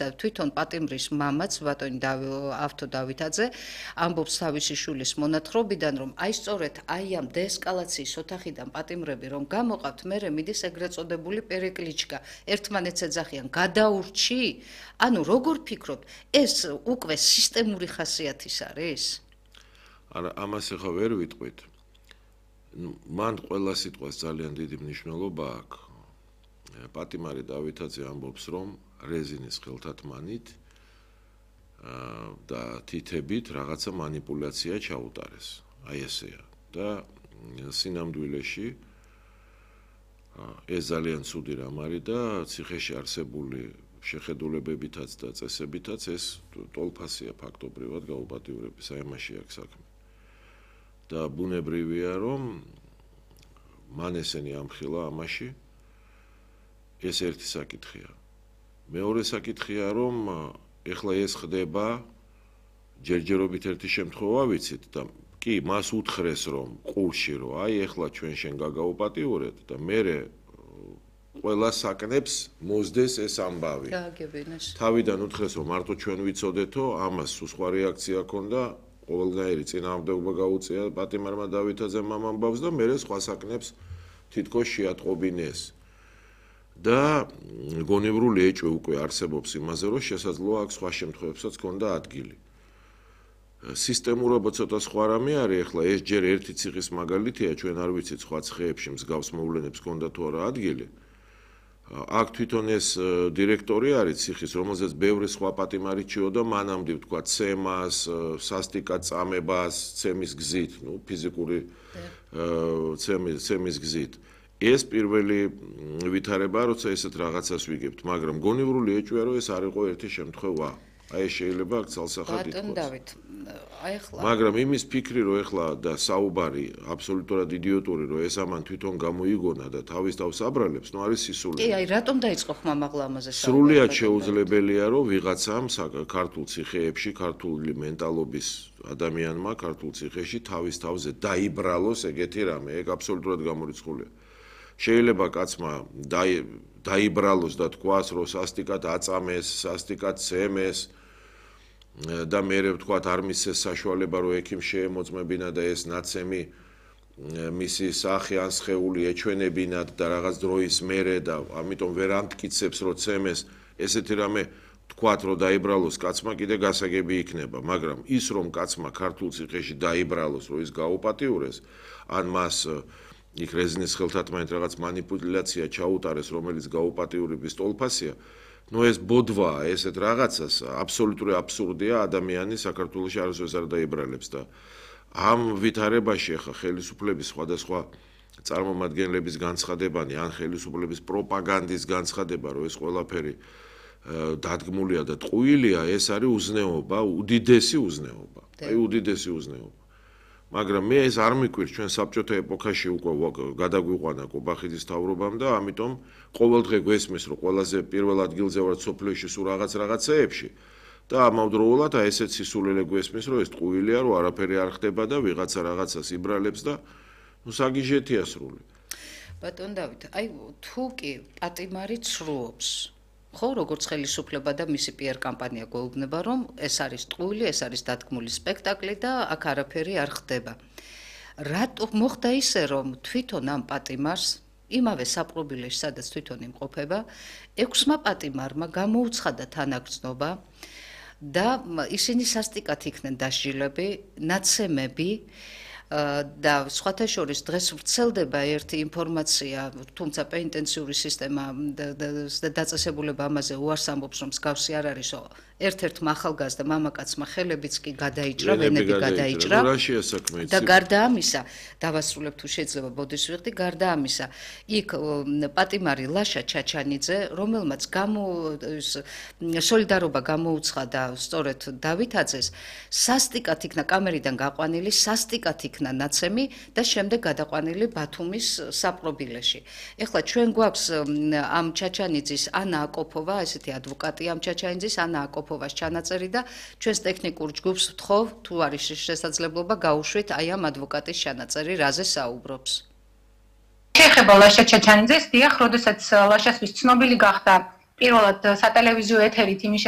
ამისა, თვითონ პატიმრის მამაც, ბატონი ავთო დავითაძე, ამბობს თავისი შვილის მონათხრობიდან, რომ აი სწორედ აი ამ დეესკალაციის ოთახიდან პატიმრები რომ გამოყავთ, მერე მიდის ეგრეთ წოდებული პერიკლიჩკა, ერთმანეთს ეძახიან გადაურჩი, ანუ როგორ ფიქრობთ, ეს უკვე სისტემური ხასიათის არის? არა, ამას ახლა ვერ ვიტყვით. მან ყველა სიტყვას ძალიან დიდი მნიშვნელობა აქვს. პატიმარი დავითაძე ამბობს, რომ რეზინის ხელთათმანით და თითებით რაღაცა მანიპულაცია ჩაუტარეს. აი ესეა. და სინამდვილეში ეს ძალიან ცუდი რამ არის და ციხეში არსებული შეხედულებებითაც და წესებითაც ეს ტოლფასია ფაქტობრივად გაუპატიურების, აი ამაში აქვს საქმე. და ბუნებრივია, რომ მან ესენი ამხილა ამაში. ეს ერთი საკითხია. მეორე საკითხია, რომ ეხლა ეს ხდება ჯერჯერობით ერთი შემთხვევა ვიცით და კი მას უთხრეს რომ ყურში რომ აი ეხლა ჩვენ შენ გაგაუპატიურეთ და მერე ყველა საკნებს მოსდეს ეს ამბავი. გააგებინეს. თავიდან უთხრეს რომ მარტო ჩვენ ვიცოდეთო, ამას სხვა რეაქცია ჰქონდა, ყოველგვარი წინააღმდეგობა გაუწია პატიმარმა დავითაძემ ამ ამბავს და მერე სხვა საკნებს თითქოს შეატყობინეს. და გონივრული ეჭვი უკვე არსებობს იმაზე, რომ შესაძლოა აქ სხვა შემთხვევებსაც ჰქონდა ადგილი. სისტემურობა ცოტა სხვა რამე არის, ეხლა ეს ჯერ ერთი ციხის მაგალითია, ჩვენ არ ვიცით სხვა ციხეებში მსგავს მოვლენებს ჰქონდა თუ არა ადგილი. აქ თვითონ ეს დირექტორი არის ციხის, რომელზეც ბევრი სხვა პატიმარი ჭიოდა მანამდე, თქვა, ცემას, სასტიკად წამებას, ცემის გზით, ნუ ფიზიკური ცემის გზით. ეს პირველი ვითარებაა, როცა ესეთ რაღაცას ვიგებთ, მაგრამ გონივრული ეჭვია, რომ ეს არ იყო ერთი შემთხვევა. აი ეს შეიძლება აქ ცალსახად ითქვას. მაგრამ იმის ფიქრი, რომ ეხლა და საუბარი აბსოლუტურად იდიოტური, რომ ეს ამან თვითონ გამოიგონა და თავის თავს აბრალებს, ნუ არის სისულელე. კი, აი რატომ დაიწყო ხმამაღლა ამაზე საუბარი? სრულიად შეუძლებელია, რომ ვიღაცამ ქართულ ციხეებში, ქართული მენტალობის ადამიანმა ქართულ ციხეში თავის თავზე დაიბრალოს ეგეთი რამე, ეგ აბსოლუტურად გამორიცხულია. შეიძლება კაცმა დაიბრალოს და თქვას, რომ სასტიკად აწამეს, სასტიკად ცემეს და მერე ვთქვათ არ მისცეს საშუალება, რომ ექიმ შეემოწმებინა და ეს ნაცემი მისი სახე ან სხეული ეჩვენებინათ და რაღაც დროის მერე და ამიტომ ვერ ამტკიცებს, რომ ცემეს, ესეთი რამე თქვათ, რომ დაიბრალოს კაცმა კიდე გასაგები იქნება, მაგრამ ის რომ კაცმა ქართულ ციხეში დაიბრალოს, რომ ის გაუპატიურეს, ან მას იქ რეზინის ხელთათმანით რაღაც მანიპულაცია ჩაუტარეს, რომელიც გაუპატიურების ტოლფასია, ნუ ეს ბოდვაა, ესეთ რაღაცას აბსოლუტური აბსურდია, ადამიანი საქართველოში არასდროს არ დაიბრალებს და ამ ვითარებაში ახლა ხელისუფლების სხვადასხვა წარმომადგენლების განცხადებანი, ან ხელისუფლების პროპაგანდის განცხადება, რომ ეს ყველაფერი დადგმულია და ტყუილია, ეს არის უზნეობა, უდიდესი უზნეობა. აი უდიდესი უზნეობა. მაგრამ მე ეს არ მიკვირს, ჩვენ საბჭოთა ეპოქაში უკვე გადაგვიყვანა კობახიძის თავრობამ და ამიტომ ყოველდღე გვესმის, რომ ყველაზე პირველ ადგილზე ვარ სოფლიოში სულ რაღაცეებში და ამავდროულად აი ესეც სისულელე გვესმის, რომ ეს ტყუილია, რომ არაფერი არ ხდება და ვიღაცა რაღაცას იბრალებს და ნუ საგიჟეთია სრული. ბატონ დავით, აი თუ კი პატიმარი ცრუობს ხო, როგორც ხელისუფლება და მისი PR კამპანია გვეუბნება, რომ ეს არის ტყუილი, ეს არის დადგმული სპექტაკლი და აქ არაფერი არ ხდება. რატო მოხდა ისე, რომ თვითონ ამ პატიმარს, იმავე საპყრობილეში, სადაც თვითონ იმყოფება, 6-მა პატიმარმა გამოუცხადა თანაგრძნობა და ისინი სასტიკად იქნენ დასჯილები, ნაცემები და სხვათა შორის დღეს ვრცელდება ერთი ინფორმაცია, თუმცა პენიტენციური სისტემა და დაწესებულება ამაზე უარს ამბობს, რომ მსგავსი არ არის, ერთ-ერთმა ახალგაზრდა მამაკაცმა ხელებიც კი გადაიჭრა, ვენები გადაიჭრა და გარდა ამისა, დავასრულებ თუ შეიძლება ბოდის ვიხდი, გარდა ამისა, იქ პატიმარი ლაშა ჩაჩანიძე, რომელმაც სოლიდარობა გამოუცხადა სწორედ დავითაძეს, სასტიკად იქნა კამერიდან გაყვანილი, სასტიკად იქნა ნაცემი და შემდეგ გადაყვანილი ბათუმის საპყრობილეში. ეხლა ჩვენ გვაქვს ამ ჩაჩანიძის ანა აკოპოვა, ესეთი ადვოკატი ამ ჩაჩანიძის ანა აკოპოვას ჩანაწერი და ჩვენს ტექნიკურ ჯგუფს ვთხოვ, თუ არის შესაძლებლობა გაუშვით აი ამ ადვოკატის ჩანაწერი, რაზე საუბრობს. შეეხება ლაშა ჩაჩანიძეს, დიახ, როდესაც ლაშასთვის ცნობილი გახდა პირველად სატელევიზიო ეთერით იმის